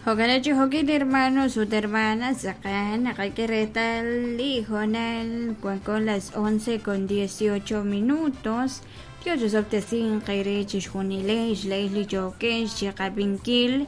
Jo'kan chi jo'kin hermanos ut hermanas, tz'aqal naqak'e reetal li hoonal wanko las 11 con 18 minutos. Dios osob'tesinq eere chixjunilex laa'ex li yookex chiqab'inkil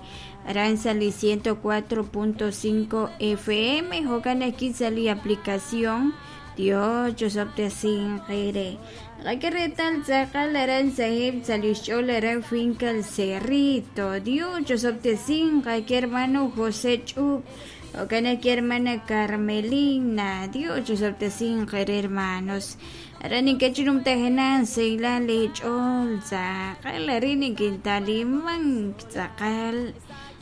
aran sa' li 104.5 FM, jo'kan ajwi' sa' li aplicación. Dios osob'tesinq eere. Naqak'e reetal tz'aqal aran sa'eb' sa' li xch'ool aran Finca El Cerrito. Dios osob'tesinq ake hermano José Ch'ub, jo'kan ajwi' hermana Carmelina. Dios osob'tesinq eere, hermanos. Aran ink'a' chi numtajenaq sahilal leech'ool, tz'aqal arin nikintalimank tz'aqal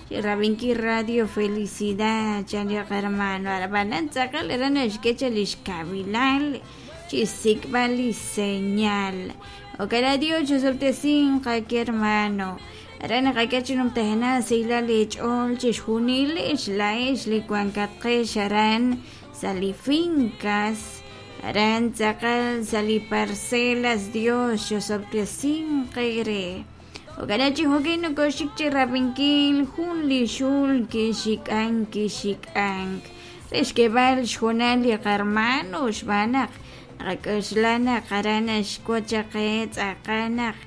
chi rab'inkil Radio Felicidad, chan li hermano. Ab'anan tz'aqal aran naxk'e cha li xkawilal chi xsik'b'al li señal. Jo'kan Dios osob'tesinq ake hermano. Aran naqak'e chi numtajenaq sahilal leech'ool chixjunilex laa'ex li wankatqex aran sa' li fincas, aran tz'aqal sa' li parcelas. Dios osob'tesinq eere. Jo'kan chi jo'kin nokoxik chi rab'inkil jun li xul kixik'ank kixik'ank re xk'eeb'al xhoonal li qarmano, xb'aan naq naqak'oxla naq aran naxwotz chaq qe tz'aqal naq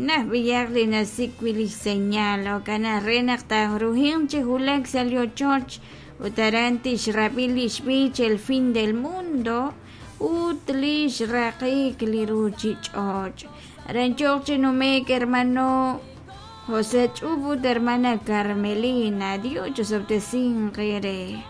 naj b'iyaq li nasik' wi' li señal. Jo'kan naq re naq taaruhinq chi wulak sa' li ochoch ut aran tixrab'i li xb'ich El Fin del Mundo ut li xraqik li ruchich'och'. Aran yooq chi nume'k hermano José Ch'ub ut hermana Carmelina. Dios osob'tesinq eere.